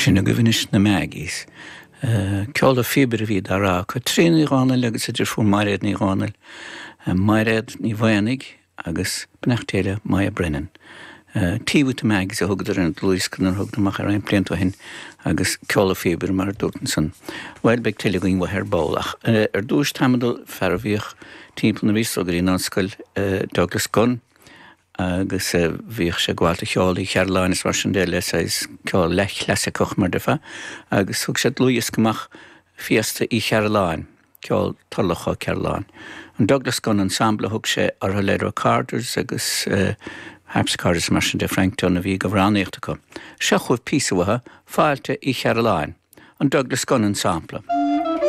Sin agaibh anois na Maggies. Ceol an phíobaire a bhí dá rá acu. Tríona Ní Dhomhnaill agus a deirfiúr Mairéad Ní Dhomhnaill, Mairéad Ní Mhaonaigh agus beannacht Dé le Moya Brennan. Tea with the Maggies a thugadar ar an dlúthdhiosca nuair a thugadar amach é roinnt blianta ó shin agus ceol an phíobaire mar a dúrt ansan. Bhuel, beidh tuilleadh againn uathu ar ball ach ar dtúis táim ag dul fear a bhíodh timpeall nuair a bhíos ag dul go dtí an ollscoil, Douglas Gunn, agus bhíodh sé ag gabháil do cheol Uí Cheirealláin is mar sin de le saghas ceol leathchlasaiceach mar déarfá agus thug sé dlúthdhiosca amach Fiesta Uí Cheirealláin, ceol Thurloch Ó Ceirealláin. An Douglas Gunn Ensemble a thug sé orthu le recorders agus harpsichord is mar sin de Frank Dunne a bhí ag amhránaíocht acu. Seo chugaibh píosa uathu, Fáilte Uí Cheirealláin, an Douglas Gunn Ensemble.